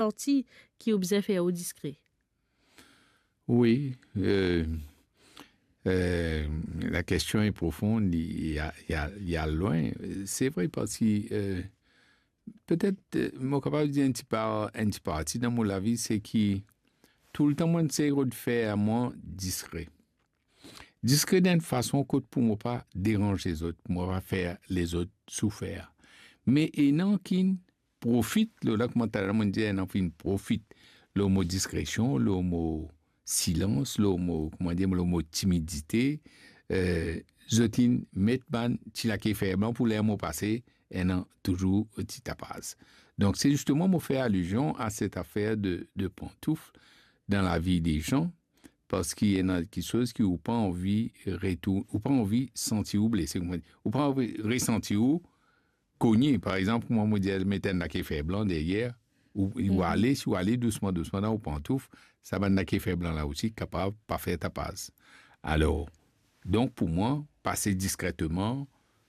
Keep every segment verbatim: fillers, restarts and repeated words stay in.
santi ki ou bizin fer ou diskre? Wi, euh, euh, la kestion est profonde, li, li a, li a, li al lwin. Se vre, parski, euh, petet, euh, mo kapav dir enn ti par, enn ti parti dan mo lavi, se ki toultan mo inn sey rod fer mwa diskre. Diskre dan enn fason kot pou mo pa deranz lezot, pou mo pa fer lezot soufer. Me ena ki'nn profit, lor la kouma talè mo dir, ena ki'nn profit lor mo diskresion, lor mo silans, lor mo, kouma dir, lor mo timidite, eh, zot inn met bann ti lake fer blan pou ler mo pase, ena touzour ti tapaz. Donk, se zisteman mo fer alizion a set afer de, de pantouf dan lavi de zan, parski ena kiksoz ki ou pa anvi retour, ou pa anvi santi ou blese, kouma dir, ou pa anvi resanti ou kogne. Par exanp, kouma mo dir, met enn lake fer blan deryer, ou, ou ale, si ou ale dousman, dousman dan ou pantouf, sa bann lake fer blan la osi kapav pa fer tapaz. Alor, donk pou mwa, pase diskreteman,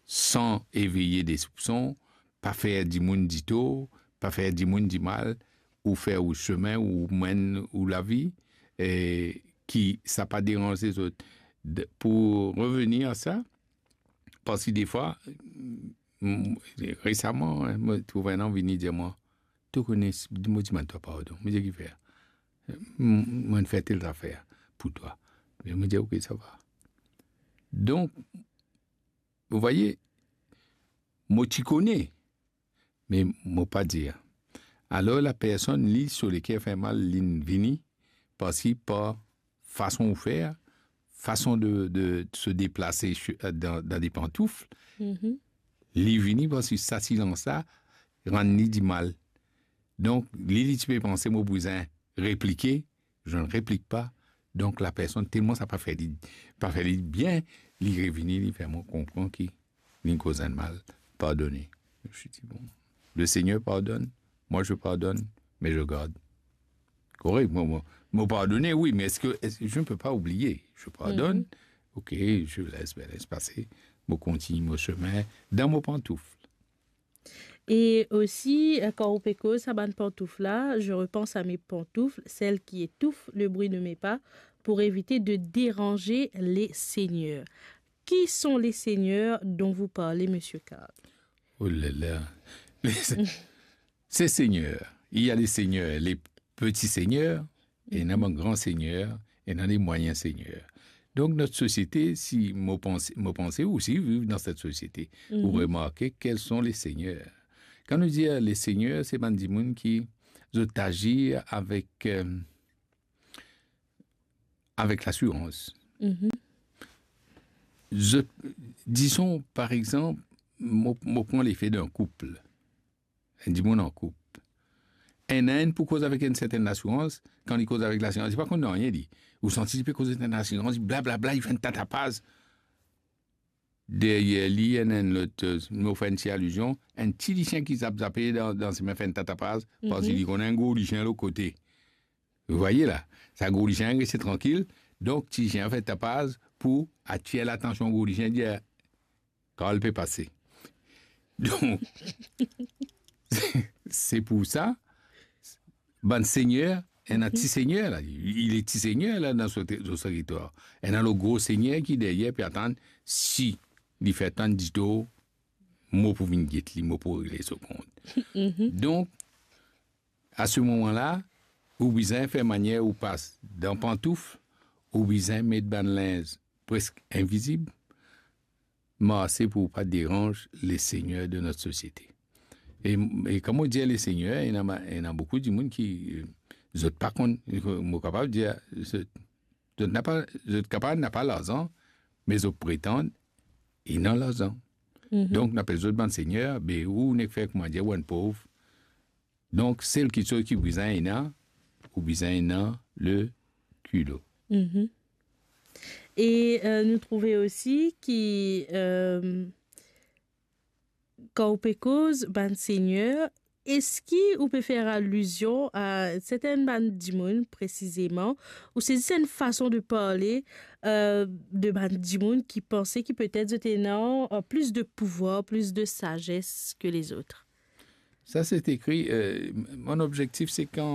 san eveye de soupson, pa fer dimoun ditor, pa fer dimoun dimal, ou fer ou sime, ou menn ou lavi, e ki sa pa deranz lezot. De, pou revenir a sa, parski defwa, mm, resaman, mo trouv enn vini dir mwa, "To kone, mo dimann twa pardon." Mo dir, "Kifer?" "M, mo'nn fer tel zafer pou twa." Me mo dir, "Ok, sa va." Donk, vous voyez, mo ti kone, me mo pa dir. Alor, lapersonn, li, so leker fer mal, li'nn vini, parski par fason ou fer, fason de, de se deplase su-, dan, dan de pantouf, li vini parski sa silans la rann li dimal. Donk, li, li ti pe panse mo bizin replike, zot replik pa. Donk, lapersonn, telman sa pa fer li, pa fer li bien, li revini, li fer mwa konpran ki li'nn koz enn mal, pardone. Je dis, bon, le Seigneur pardonne, moi je pardonne, mais je garde. Korek, mo, mo, mo pardone, wi, me eski, eski je ne peux pas oublier? Je pardonne, ok, je laisse, ben, laisse passer, mo kontign mo sime, dan mo pantouf. E osi, eh, kan ou pe koz sa bann pantouf la, je repense à mes pantoufles, celles qui étouffent le bruit de mes pas, pour éviter de déranger les seigneurs. Qui sont les seigneurs dont vous parlez, monsieur Karl? Oh là là. Les, ces seigneurs, il y a les seigneurs, les petits seigneurs, et il y a un grand seigneur, et il y a les moyens seigneurs. Donc, notre société, si mo panse, mo panse ou si viv dan set sosiete, ou remarke quels sont les seigneurs. Kan nou dir les seigneurs, se bann dimoun ki zot azir avek, euh, avek lasirans. Zot, dizon, par exanp, mo, mo pran lefe dan koup. Enn dimoun an koup. Enn, enn pou koz avek enn sertenn lasirans, kan li koz avek lasirans, li pa konn nanye li. Ou santi li pe koz avek enn lasirans, li blablabla, li fer enn ta tapaz. Deryer li, enn, enn lot, euh, mo fer enn ti alizion, enn ti lisien ki zap zape dan, dan sime fer enn ta tapaz, parski li konn enn gro lisien lot kote. Vous voyez la, sa gro lisien reste trankil, donk ti lisien fer tapaz pou atir latansion gro lisien, dir, Karl pe pase. Donk, se pou sa, bann seigneur, ena ti seigneur la, li, li ti seigneur la dan so te-, so teritwar. Ena lot gro seigneur ki deryer pe atann si li fer tann ditor, mo pou vinn get li, mo pou regle so kont. Donk, a se moman la, ou bizin fer manier ou pas dan pantouf, ou bizin met bann linz preske invizib, marse pou pa deranz les seigneurs de notre société. E, e kan mo dir les seigneurs, ena ma-, ena boukou dimoun ki, euh, zot pa konn, mo kapav dir, zot, zot napa, zot kapav napa larzan, me zot pretann ena larzan. Donk, nou apel zot bann seigneur, be ou nek fer kouma dir, ou enn pov. Donk, sel kiksoz ki bizin ena, ou bizin ena le kilo. E, euh, nou trouve osi ki, euh, kan ou pe koz bann seigneur, eski ou pe fer alizion a sertenn bann dimoun presizeman, ou se zis enn fason de parle, euh, de bann dimoun ki panse ki petet zot ena, euh, plis de pouvwar, plis de sazes ke lezot? Ça, c'est écrit. Euh, mon objectif, c'est quand